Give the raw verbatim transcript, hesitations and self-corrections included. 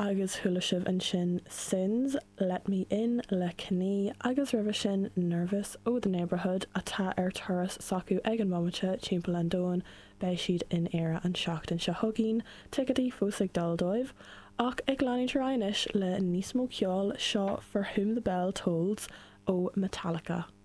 Agus chuala sibh ansin Sins, Let Me In le Knee agus roimhe sin Nervous ó The Neighbourhood atá ar turas s'acu ag an mbomaite timpeall an domhain beidh siad in Éire an seachtain seo chugainn, ticéidí fós ag dul dóibh, ach ag leanúint ar aghaidh anois le níos mó ceoil seo For Whom the Bell Tolls ó Metallica.